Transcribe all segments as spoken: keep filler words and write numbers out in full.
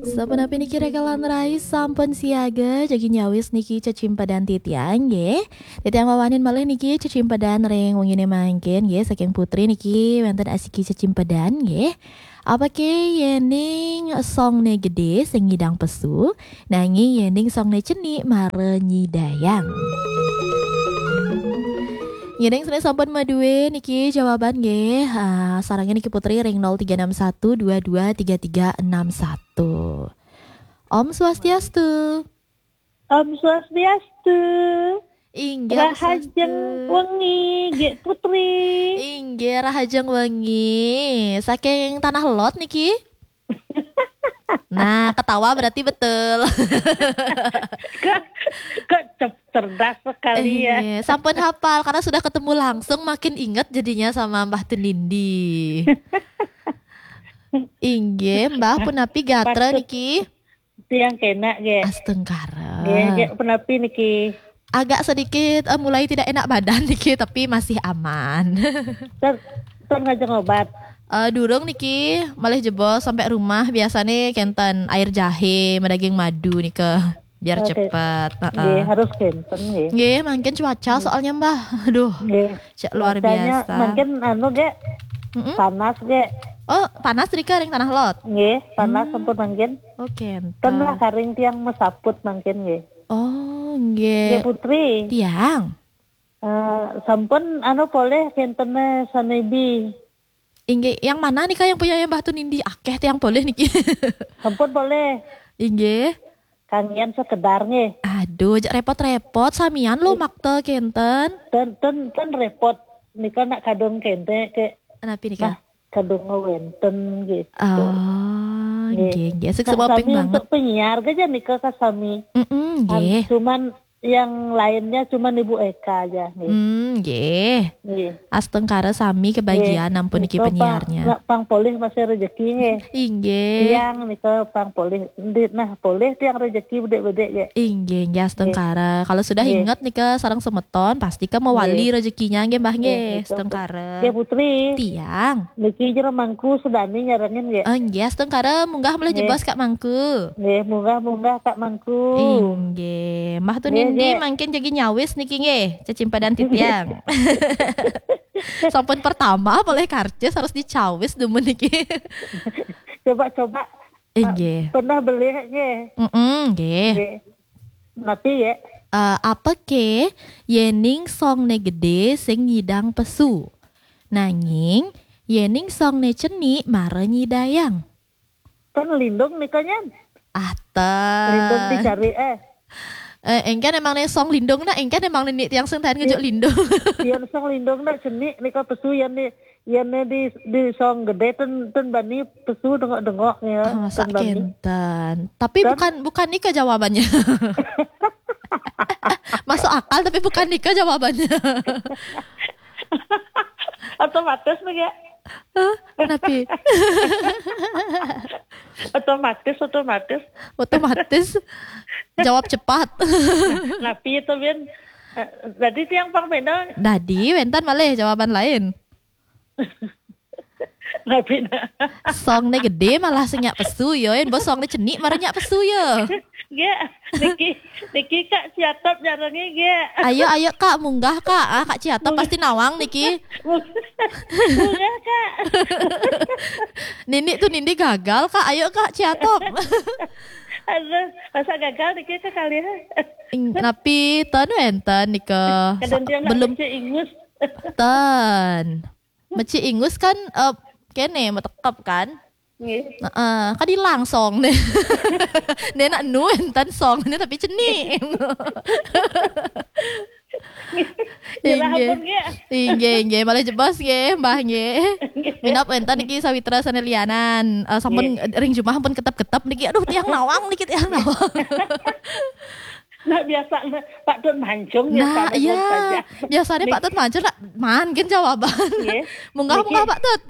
Sapunapi niki rekan lan rai sampun siaga, jagi nyawis niki cecimpedan titiang nggih. Titiang wawanin malih niki cecimpedan ring wengine mangkin nggih, saking Putri niki wenten asiki cecimpedan nggih. Apake yening songne gede sing ngidang pesu, nanging yening songne cenik mara nyidayang. Yening sene sampun madue niki jawaban nggih. Ah, sarangnya niki Putri ring nol tiga enam satu dua dua tiga tiga enam satu. Om Swastiastu. Om Swastiastu. Inggih, Om Rahajeng Swastiastu. Wengi, nggih Putri. Inggih, Rahajeng Wengi. Saking Tanah Lot niki? Nah, ketawa berarti betul. Kok, kok cer- cerdas sekali ya. Eh, sampun hapal karena sudah ketemu langsung, makin inget jadinya sama Mbah Tunindi. Inggih, Mbah punapi gatra patut niki? Tiang kena nggih. Astungkara. Nggih, nggih, punapi niki? Agak sedikit, eh, mulai tidak enak badan niki, tapi masih aman. Ter, ter ngajeng obat? Eh, durung niki, malih jebos sampai rumah biasane kenten air jahe, madaging madu nika. Biar oke. Cepet. Heeh. Nggih, harus kenten nggih. Nggih, mangkin cuaca nggih. Soalnya Mbah. Aduh, nggih. Cek luar cuacanya biasa. Mangkin anu nggih. Mm-mm. Panas nggih. Oh, panas rika ring Tanah Lot. Nggih, panas hmm. Sampun mangkin. Oh, kenten. Ten lah karing tiang mesaput mangkin nggih. Oh, nggih. Nggih, Putri. Tiang. Eh, sampun anu polih kentene sanebi. Inggih, yang mana nika yang punya Mbah Tunindi? Akeh tiang polih niki. Sampun polih. Inggih. Kangian sekedar nggih. Aduh, jak repot-repot, samian lo makta kenten. Ten, ten, ten repot. Nika nak kadung kente ke. Napi nika? Nah, kadung wenten gitu. Oh, nggih, nggih. Nggih. Sukses sami ping banget. Untuk penyiar aja nika kasami. Mm-mm, nggih. Cuman yang lainnya cuman Ibu Eka aja nggih. Hmm, nggih. Nggih. Astungkara sami kebagian nggih. Ampun niki nika penyiarnya. Pang, pang polih masih rezeki nggih. Inggih. Tiang nika pang polih. Endi nah polih tiang rezeki bedek-bedek nggih. Inggih, nggih astungkara. Nggih. Kalau sudah nggih. Inget nika sareng semeton pasti ke mewali nggih. Rezekinya nggih Mbah nggih. Nggih, astungkara. Nggih Putri. Tiang. Niki jero mangku sedani nyarengin nggih. Oh, nggih astungkara munggah mulih nggih. Jebos Kak Mangku. Nggih, munggah-munggah Kak Mangku. Inggih. Mbah Tunindi nggih. Mangkin jagi nyawis niki nggih, cecimpadan titiang. Sampun pertama polih karcis harus dicawis dumun niki. Coba-coba. Inggih. Pernah beli nggih. Mm-mm, nggih. Nggih. Mati ya. Eh, apa ke yening songne gede sing nyidang pesu? Nanging yening songne cenik mara nyidayang. Kan lindung nika nyan. Ah, ten. Lindung dicari eh. Eh, engken emang ne song lindung nak, engken emang ne tiang sing tahan ngejuk lindung. Yen song lindung nak cenik nika pesu yen ne, yen ne di, di song gede ten, ten bani pesu dengok-dengok ya. Ah, masa ten bani. Kenten. Tapi kan bukan, bukan nika jawabannya. Masuk akal tapi bukan nika jawabannya. Otomatis nih ya. Hah? Napi? Otomatis, otomatis. Otomatis. Jawab cepat. Napi itu Bin. Eh, tadi tiang pang beda. Dadi wenten malih jawaban lain. Napi nah. Songne gede malah sing nyak pesu ya, yen bos songne cenik mara nyak pesu ya. Nggih, niki, niki Kak Ciatop nyarengi nggih. Ayo, ayo Kak, munggah Kak. Ah, Kak Ciatop pasti nawang niki. Munggah Kak. Nini Tunindi gagal Kak, ayo Kak Ciatop. Aduh, masa gagal niki sekali. Ing-, napi ten wenten nika. Kadang dia nak belum ingus. Ten. Meci ingus kan, eh, kene metekep kan? Nggih. Heeh, kan ilang song ne. Ne nak nu enten song ne tapi cenik. Nggih, inggih. Ampun, nggih. Inggih, inggih. Malih jebos nggih, Mbah nggih. Nggih. Minab enten niki sawitra sane lianan. Eh, sampun nggih. Ring jumah ampun ketep-ketep niki. Aduh, tiang nawang niki, tiang nawang. Nah, biasa Pak Tun Mancung. Nah, iya. Biasanya Pak Tun Mancung nak mangkin jawaban. Nggih. Munggah, niki. Munggah Pak Tut.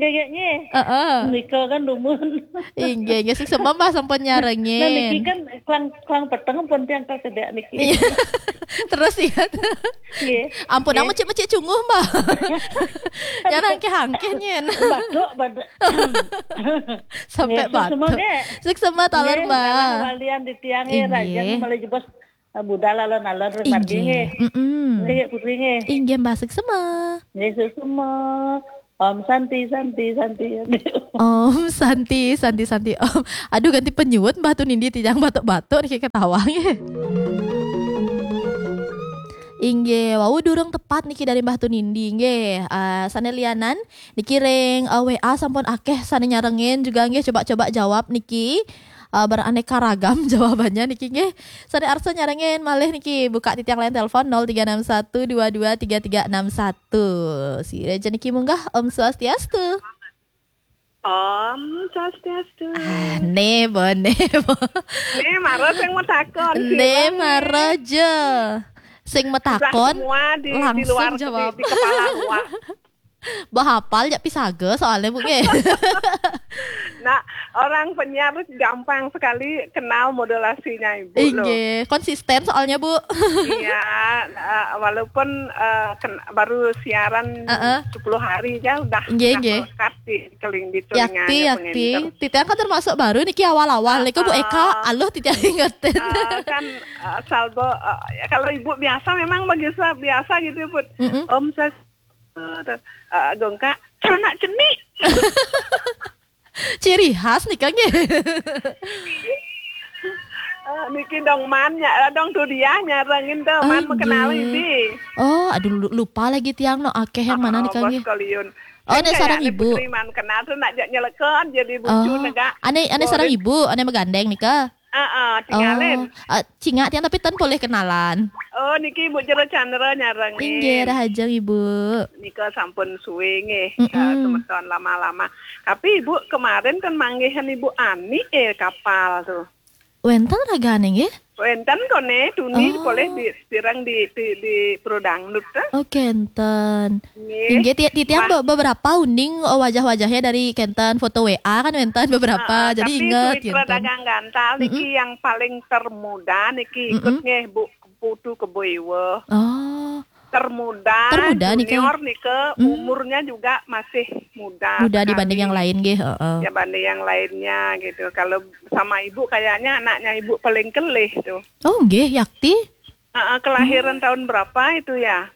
Gegeknya. Heeh. Nika kan dumun. Inggih, inggih, suksma Mbah sampun nyarengin. Nah, niki kan klang, klang peteng pun tiang ka sedak niki. Iya. Terus ya. Nggih. Ampun, nggih. Mecik-mecik cunguh, Mbah. Nyarengke hangke nyen. Batuk, batuk. Sampai nggih, suksma batuk. Nggih. Suksma taler, nggih, Mbah. Walian di tiang, nggih, inggih. Rajan malah jebos. Ah, budal alon-alon, terus inggih. Margi, nggih. Mm-mm. Nggih, putri, nggih. Inggih, Mbah, suksma. Nggih, suksma. Om Santi, Santi, Santi. Om Santi, Santi, Santi, Om. Aduh, ganti penyuwut, Mbah Tunindi, tijang batuk-batuk niki ketawa, nggih. Inggih, wau durung tepat niki dari Mbah Tunindi, nggih. Ah, sane lianan niki ring, ah, W A sampun akeh sane nyarengin juga, nggih, coba-coba jawab niki. Ah, beraneka ragam jawabannya niki, nggih. Sane arsa nyarengin malih niki, buka titiang line telepon nol tiga enam satu dua dua tiga tiga enam satu. Sira aja niki munggah, Om Swastiastu. Om Swastiastu. Ah, ne bo, ne bo. Ne mara sing matakon, ne sira, mara ne. Ja. Sing matakon semua di, di langsung luar, jawab. Di, di kepala luar. Bah hafal ya pisaga soalnya, Bu, nggih. Nah, orang penyiar gampang sekali kenal modulasinya Ibu loh. Inggih, konsisten soalnya, Bu. Iya, eh, walaupun, eh, ken-, baru siaran heeh. Sepuluh hari ya udah, nggih, udah nggih. Melekat di keling-, di telinganya yakti, yakti. Penginter. Titiang kan termasuk baru niki awal-awal. Nika Bu Eka, ah, aluh titiang ingetin. Ah, kan, eh, saldo, eh, ya, kalau Ibu biasa memang biasa, biasa gitu, Bu. Mm-mm. Om saya Eh, eh, gongkak, celana cenik. Ciri khas nika, nggih. Eh, niki dong man, ya, dong tu dia nyarengin tu, man, inggih. Mengenali di. Oh, aduh, lu-, lupa lagi tiang no, akeh yang mana nika, oh, nggih. Bos Koliun. Oh, kan nek sareng kayak Ibu. Ibu Tri man kenal tu nak jak nyelekon jadi bucu, oh, negak. Ane, ane sareng Ibu, ane megandeng nika. Heeh, tinggalin. Oh, eh, cingak tiang tapi ten boleh kenalan. Oh, niki Ibu Jero Chandra nyarengin. Inggih, rahajeng Ibu. Nika sampun suwe nggih, mm-mm. Eh, semeton lama-lama. Tapi Ibu kemarin kan manggihan Ibu Ani, eh, kapal tuh. Wenten ragane nggih? Wenten kone, tuni oh. Boleh di, sirang di, di, di Pro Dangdut, eh. Oh, kenten. Nggih. Inggih, ti-, titiang be-, beberapa uning, oh, wajah-wajahnya dari kenten foto W A kan wenten beberapa, ah, jadi tapi inget, Suitra kenten. Dagang Gantal niki mm-mm. Yang paling termuda niki ikut mm-mm. Nggih, Bu Putu Kebo Iwa. Oh. Termuda, termuda nika. Junior nika, mm. Umurnya juga masih muda sekali. Muda dibanding yang lain, nggih, heeh. Dibanding yang lainnya gitu. Kalau sama Ibu kayaknya anaknya Ibu paling kelih tuh. Oh, nggih, yakti. Heeh, kelahiran hmm. Tahun berapa itu ya?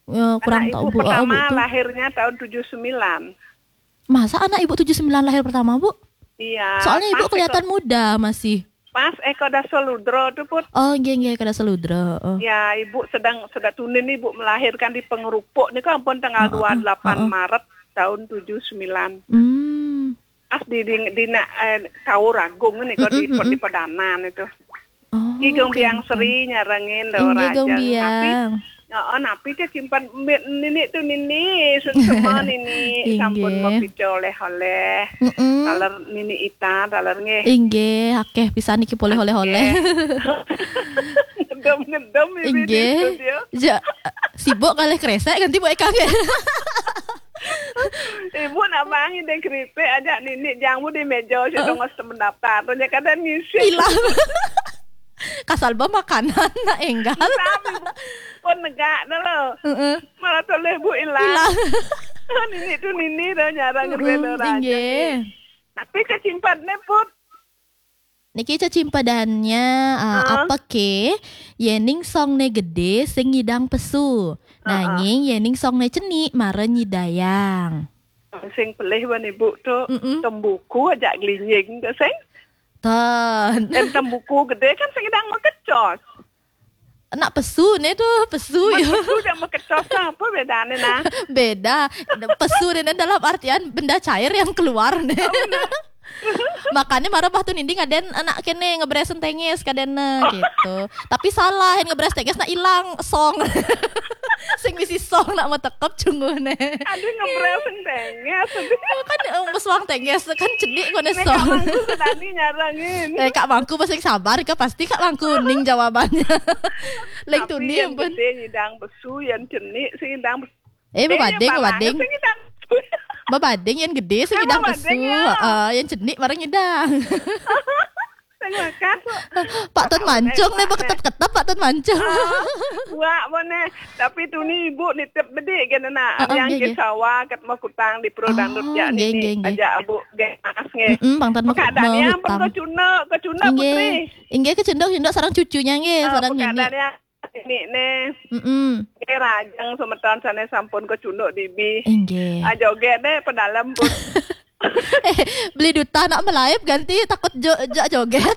Eh, kurang tahu, Bu. Anak Ibu pertama oh, Bu, lahirnya tahun tujuh sembilan. Masa anak Ibu tujuh sembilan lahir pertama, Bu? Iya. Soalnya Ibu kelihatan muda masih. Pas Eko Dasoludro tuh, Put. Oh, nggih, nggih, Eko Dasoludro. Oh. Ya, Ibu sedang, sedang tunin Ibu melahirkan di Pengerupuk nih, ampun, tanggal heeh, dua puluh delapan heeh. Maret tahun tujuh sembilan. Hmm. Pas di, di, di nak, eh, Kaur Agung nih, kok di, mm-mm, mm-mm. Di Pedanan itu. Oh, Ki Gong Biang Sri nyarengin lho. Inggih, Gong Biang. Tapi, oh, napi ke simpan nini tuh nini, semua nini sampun mau pica oleh-oleh. Mm-mm. Taler nini Ita, taler nggih. Inggih, akeh pisan iki poleh oleh-oleh. Ngedem-ngedem ini di studio. Ja, sibuk kalih kresek ganti Bu Eka nggih. Ibu nak bangi deh keripik aja nini jangmu di meja si tongos mendaftar. Ternyata kada ngisi. Hilang. Kasal ba makanan nak enggal. Tapi pun negak dah lo. Heeh. Malah toleh Bu hilang. Hilang. Nini tuh nini dah nyarang. Mm-mm, ngerbeda raja. Inggih. Tapi kecimpat ne Put. Niki cecimpadannya, uh, apa ke? Yening songne gede sing ngidang pesu. Nanging yening songne cenik mara nyidayang. Sing pelih wan Ibu tuh tembuku aja gelinying tuh sing. Ten. Em, tembuku gede kan sing ngidang makecos. Nak pesu ne tuh, pesu ya. Pesu dan makecos apa bedane nah? Beda. Pesu ne dalam artian benda cair yang keluar ne. Oh, benar. Makanya marah bah tuh ninding aden anak kene ngebres tengis kadene gitu. Tapi salah, yang ngebres tengis nak hilang song. Sing bisi song nak metekep cunguh ne. Aduh, ngebres tengis. Kan, eh, meswang tengis kan cedik kone song. Tadi nyarangin. Eh, Kak Mangku masih sabar ke pasti Kak Mangku ning jawabannya. Leng tuning pun. Gede nyidang pesu, yang cenik sing ngidang pesu. Eh, bebading, bebading. Sing ngidang pesu. Babading yang gede sing ngidang kesu. Heeh, yang cenik barang ngidang. Sing makan. Pak Tun Mancung nih, ketep-ketep Pak Tun Mancung. Buat mana? Tapi tu ni ibu nitip bedik kan nak. Yang ke sawah kat mau kutang di Pro Dangdut ya ni. Aja abu gas nge. Heeh, Bang Tan mau kutang. Keadaannya pun kau cunduk, kau cunduk putri. Inggih, kecunduk-cunduk sarang cucunya nggih, sarang nini. Ini nih. Mm-mm. Ini rajang semeton sana sampun kecunduk dibi. Inggih. Ah, joget deh pedalam pun. Eh, beli duta nak melaip ganti takut jo, jo joget.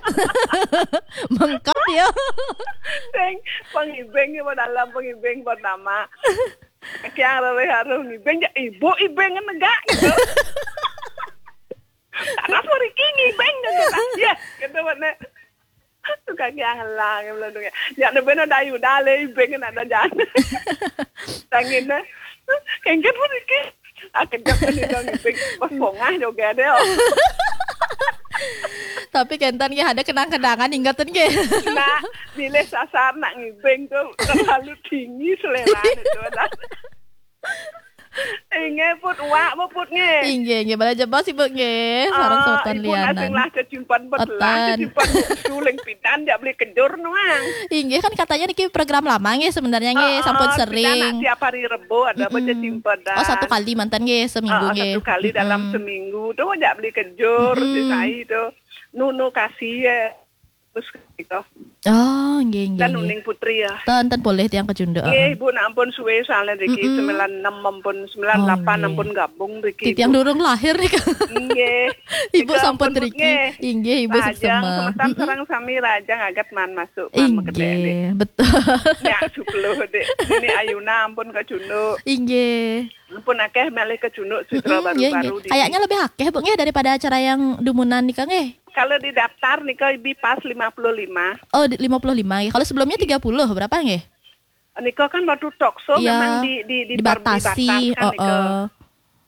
Mengkap ya. Sing pengibing pedalam pengibing pertama. Kiang rere haru ngibing ya ibu ibing negak gitu. Tak rasa Riki ngibing gitu. Ya, gitu mana. Tukang yang lah yang belum dengar. Ya, ada benar dayu dah le ibing nak dah jangan. Tangin dah. Kengket pun Riki. Ah, kejap kan dia ngibing. Pas pongah juga deh. Tapi kenten nggih ada kenang-kenangan ingatan nggih. Nah, bila sasar nak ngibing tu terlalu tinggi selera itu dah. Inggih put uak put nggih. Inggih, inggih, bala jebos ibu nggih. Sareng soton lianan. Ibu lah kecimpan pet lah, kecimpan suling pidan dia beli kejur nuang. Inggih kan katanya niki program lama nggih sebenarnya nggih, sampun sering. Tiap hari Rebo ada baca cimpan. Oh, satu kali mantan nggih seminggu nggih. Satu kali dalam seminggu tu aja beli kejur di sai tu. Nunu kasih ya. Terus gitu. Oh, nggih nggih. Dan Uning Putri ya. Ten ten boleh tiang kecunduk. Nggih, Ibu nak ampun suwe soalnya Riki sembilan enam ampun sembilan delapan ampun gabung Riki. Tiang durung lahir nih kan. Nggih. Ibu sampun Riki. Inggih, Ibu seksema. Semeton sareng sami rajang agat man masuk man makedek. Inggih, betul. Ya, sepuluh dek. Ini Ayuna ampun kecunduk. Inggih. Ampun akeh malih kecunduk sutra baru-baru. Kayaknya lebih akeh Bu nggih daripada acara yang dumunan nika nggih. Kalau di daftar nika ibi pas lima puluh lima. Oh, lima puluh lima nggih. Kalau sebelumnya tiga puluh berapa nggih? Nika kan waktu talk show memang di, di, di dibatasi, dibataskan nika.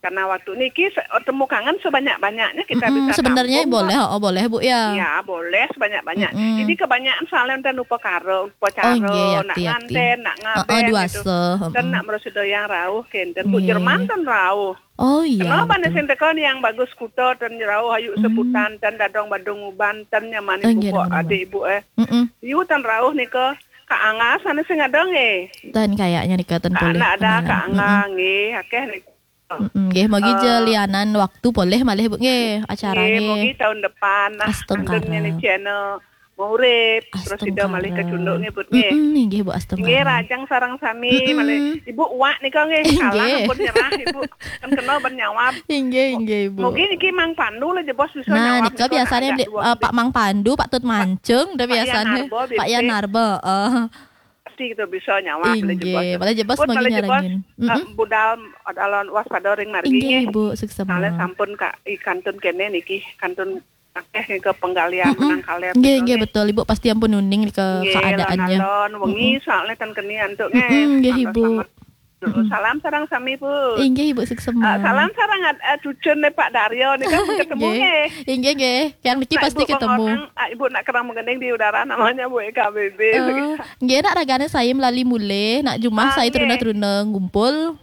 Karena waktu niki temu kangen sebanyak-banyaknya kita bisa sebenarnya tampung, boleh, oh boleh Bu ya. Ya boleh sebanyak-banyak. Ini kebanyakan soalnya enten upakara, upacara, nak nganten, nak ngaben gitu. Dan nak merasa yang rauh kenten Bu Jerman ten rauh. Oh iya. Kenapa nih sing teko nih yang bagus kuto ten rauh ayu sebutan ten dadong badung uban ten nyamani buku adik ibu eh. Yu ten rauh nika Kak Angga sana sing ada nggih. Ten kayaknya nika ten boleh. Nak ada Kak Angga nggih, akeh nih. Nggih, mogi je lianan waktu boleh malih Bu nggih acara nggih. Mogi tahun depan nah. Astungkara. Nih channel Maurip terus sida malih kecunduk nggih Bu nggih. Nggih Bu astungkara. Nggih rajang sareng sami malih. Ibu uak nika nggih kalah pun nyerah Ibu. Kan kena bernyawab. Inggih inggih Bu. Mogi niki Mang Pandu lah jebos bisa nyawab. Nah, nika biasanya Pak Mang Pandu, Pak Tut Mancung udah biasanya. Pak Yan Narba. Pasti kita bisa nyawab. Inggih, malah jebos mogi nyarengin. Budal adalah waspada ring margi. Inggih Ibu suksema. Soalnya sampun Kak kantun kene niki kantun akeh ke penggalian nang kaler. Nggih nggih betul Ibu pasti ampun uning ke keadaannya. Alon wengi soalnya tan keni antuk nggih. Nggih Ibu. Salam sarang sami Bu. Inggih Ibu suksema. Salam sarang cucun nih Pak Daryo nih kan ketemu nggih. Inggih nggih. Yang niki pasti ketemu. Ibu nak kerang menggending di udara namanya Bu E K B B. Nggih nak ragane saya melali mulih, nak jumah saya teruna-teruna ngumpul.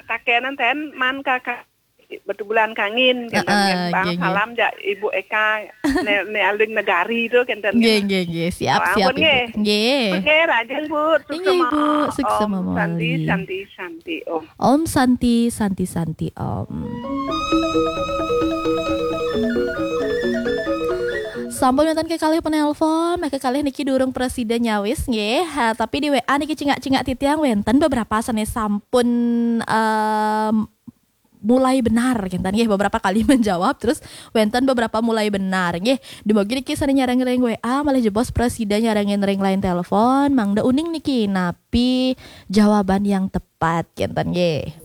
Kakenan ten man kakak betubulan kangin kenten bang salam jak Ibu Eka ne, ne aling negari tu kenten. Nggih nggih nggih siap siap Ibu. Nggih. Oke rajin Bu. Inggih Ibu suksema mawali. Santi Santi Om. Om Santi Santi Santi Om. Sampun wonten kekalih penelpon, nah kekalih niki durung presida nyawis nggih. Ha, tapi di W A niki cingak-cingak titiang wenten beberapa sanes sampun em, mulai benar kenten nggih beberapa kali menjawab terus wenten beberapa mulai benar nggih. Dumugi niki sane nyareng ring W A malih jebos presida nyarengin ring line telepon mangda uning niki napi jawaban yang tepat kenten nggih.